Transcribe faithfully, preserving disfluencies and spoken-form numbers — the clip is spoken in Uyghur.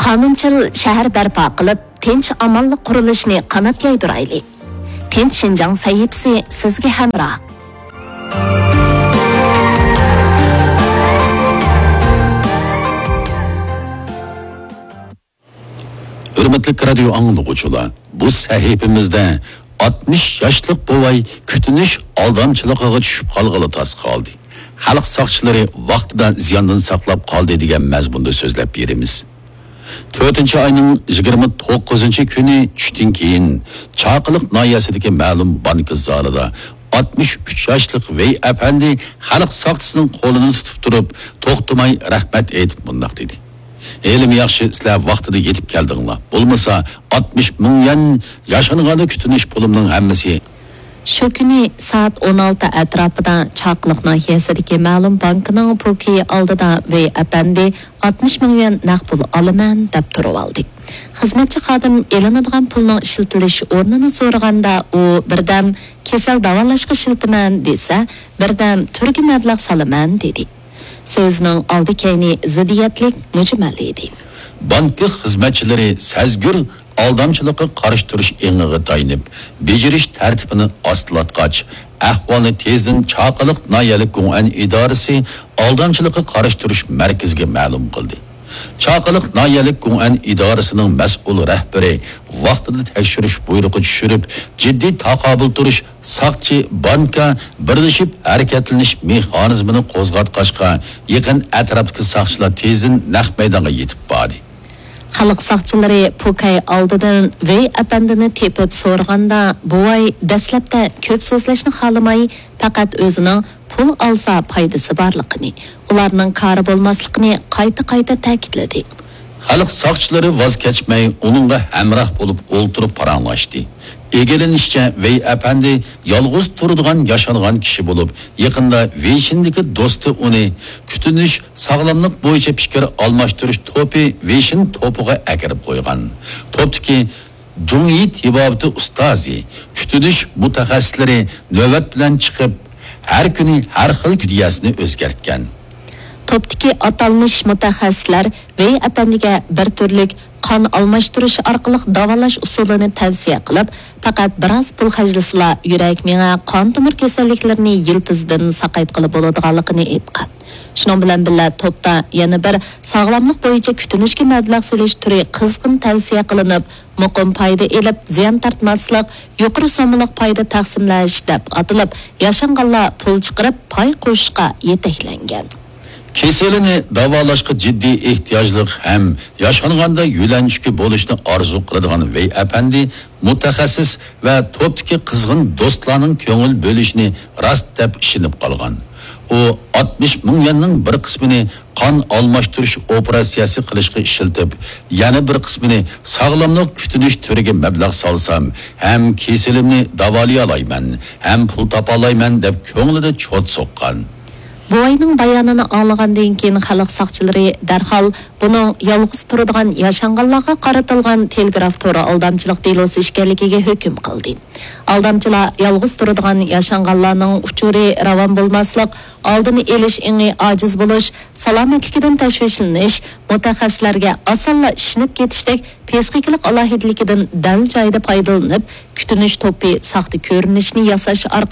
قانۇنچىل شەھەر بەرپا قىلىپ، تىنچ-ئامانلىق قۇرۇلۇشىنى قانات يايدۇرايلى. تىنچ شىنجاڭ سەھىپىسى سىزگە ھەمراھ. ھۆرمەتلىك رادىيو ئاڭلىغۇچىلار، بۇ سەھىپىمىزدە ئاتمىش ياشلىق بوۋاي كۈتۈنۈش ئالدامچىلىقىغا چۈشۈپ قالغىلى تاس قالدى. خەلق ساقچىلىرى ۋاقتىدا زىياندىن ساقلاپ قالدى دېگەن مەزمۇندا سۆزلەپ بېرىمىز. تۆتىنچى ئاينىڭ يىگىرمە توققۇزىنچى كۈنى چۈشتىن كېيىن چاقىلىق ناھىيەسىدىكى مەلۇم بانكا زالىدا ئاتمىش ئۈچ ياشلىق ۋېي ئەپەندى خەلق ساقچىسىنىڭ قولىنى تۇتۇپ تۇرۇپ، توختىماي رەھمەت ئېيتىپ مۇنداق دېدى: «ھېلىمۇ ياخشى، سىلەر ۋاقتىدا يېتىپ كەلدىڭلار. بولمىسا، ئاتمىش مىڭ يۈەن ياشانغاندا كۈتۈنۈش پۇلۇمنىڭ ھەممىسى.» شۇ كۈنى سائەت ئون ئالتە ئەتراپىدا چاقىلىق ناھىيەسىدىكى مەلۇم بانكىنىڭ پوكىيى ئالدىدا ۋېي ئەپەندى ئاتمىش مىڭ يۈەن نەق پۇل ئالىمەن دەپ تۇرۇۋالدى. خىزمەتچى خادىم ئېلىنىدىغان پۇلنىڭ ئىشلىتىلىش ئورنىنى سورىغاندا، ئۇ بىردەم «كېسەل داۋالاشقا ئىشلىتىمەن» دېسە، بىردەم «تۈرگە مەبلەغ سالىمەن» دېدى. سۆزىنىڭ ئالدى-كەينى زىددىيەتلىك، مۈجمەل ئىدى. بانكا خىزمەتچىلىرى سەزگۈر ئالدامچىلىققا قارشى تۇرۇش ئېڭىغا تايىنىپ، بېجىرىش تەرتىپىنى ئاستىلاتقاچ، ئەھۋالنى تېزدىن چاقىلىق ناھىيەلىك گۇڭئەن ئىدارىسى ئالدامچىلىققا قارشى تۇرۇش مەركىزىگە مەلۇم قىلدى. چاقىلىق ناھىيەلىك گۇڭئەن ئىدارىسىنىڭ مەسئۇل رەھبىرى ۋاقتىدا تەكشۈرۈش بۇيرۇقى چۈشۈرۈپ، جىددىي تاقابىل تۇرۇش، ساقچى، بانكا بىرلىشىپ ھەرىكەتلىنىش مېخانىزمىنى قوزغاتقاچقا، يېقىن ئەتراپتىكى ساقچىلار تېزدىن نەق مەيدانغا يېتىپ باردى. خەلق ساقچىلىرى پوكەي ئالدىدىن ۋېي ئەپەندىنى تېپىپ سورىغاندا، بوۋاي دەسلەپتە كۆپ سۆزلەشنى خالىماي، پەقەت ئۆزىنىڭ پۇل ئالسا پايدىسى بارلىقىنى، ئۇلارنىڭ كارى بولماسلىقىنى قايتا-قايتا تەكىتلىدى. خەلق ساقچىلىرى ۋاز كەچمەي، ئۇنىڭغا ھەمراھ بولۇپ ئولتۇرۇپ پاراڭلاشتى. ئىگىلىنىشىچە، ۋېي ئەپەندى يالغۇز تۇرىدىغان ياشانغان كىشى بولۇپ، يېقىندا ۋېيشىندىكى دوستى ئۇنى كۈتۈنۈش، ساغلاملىق بويىچە پىكىر ئالماشتۇرۇش توپى ۋېيشىن توپىغا ئەكىرىپ قويغان. توپتىكى جۇڭيى تېبابىتى ئۇستازى، كۈتۈنۈش مۇتەخەسسىسلىرى نۆۋەت بىلەن چىقىپ، ھەر كۈنى ھەر خىل كۈدىيەسىنى ئۆزگەرتكەن. توپتىكى ئاتالمىش مۇتەخەسسىسلەر ۋېي ئەپەندىگە بىر تۈرلۈك قان ئالماشتۇرۇش ئارقىلىق داۋالاش ئۇسۇلىنى تەۋسىيە قىلىپ، پەقەت بىراز پۇل خەجلىسىلا، يۈرەك، مېڭە، قان تومۇر كېسەللىكلىرىنى يىلتىزىدىن ساقايتقىلى بولىدىغانلىقىنى ئېيتقان. شۇنىڭ بىلەن بىللە، توپتا يەنە بىر ساغلاملىق بويىچە كۈتۈنۈشكە مەبلەغ سېلىش تۈرى قىزغىن تەۋسىيە قىلىنىپ، مۇقىم پايدا ئېلىپ، زىيان تارتماسلىق، يۇقىرى سوممىلىق پايدا تەقسىملەش دەپ ئاتىلىپ، ياشانغانلار پۇل چىقىرىپ پاي قوشۇشقا يېتەكلەنگەن. كېسىلىنى داۋالاشقا جىددىي ئېھتىياجلىق ھەم ياشانغاندا يۆلەنچۈكى بولۇشنى ئارزۇ قىلىدىغان ۋېي ئەپەندى مۇتەخەسسىس ۋە توپتىكى قىزغىن دوستلارنىڭ كۆڭۈل بۆلۈشىنى راست دەپ ئىشىنىپ قالغان. ئۇ ئاتمىش مىڭ يۈەننىڭ بىر قىسمىنى قان ئالماشتۇرۇش ئوپېراتسىيەسى قىلىشقا ئىشلىتىپ، يەنە بىر قىسمىنى ساغلاملىق كۈتۈنۈش تۈرىگە مەبلەغ سالسام ھەم كېسىلىمنى داۋالىيالايمەن ھەم پۇل تاپالايمەن دەپ كۆڭلىدە چوت سوققان. بوۋاينىڭ بايانىنى ئاڭلىغاندىن كېيىن، خەلق ساقچىلىرى دەرھال بۇنىڭ يالغۇز تۇرىدىغان ياشانغانلارغا قارىتىلغان تېلېگراف تورى ئالدامچىلىق دېلوسى ئىكەنلىكىگە ھۆكۈم قىلدى. ئالدامچىلار يالغۇز تۇرىدىغان ياشانغانلارنىڭ ئۇچۇرى راۋان بولماسلىق، ئالدىنى ئېلىش ئېڭى ئاجىز بولۇش، سالامەتلىكىدىن تەشۋىشلىنىش، مۇتەخەسسىسلەرگە ئاسانلا ئىشىنىپ كېتىشتەك پسىخىكىلىق ئالاھىدىلىكىدىن دەل جايىدا پايدىلىنىپ، كۈتۈنۈش توپى ساختا كۆرۈنۈشنى ياساش ئارقىلىق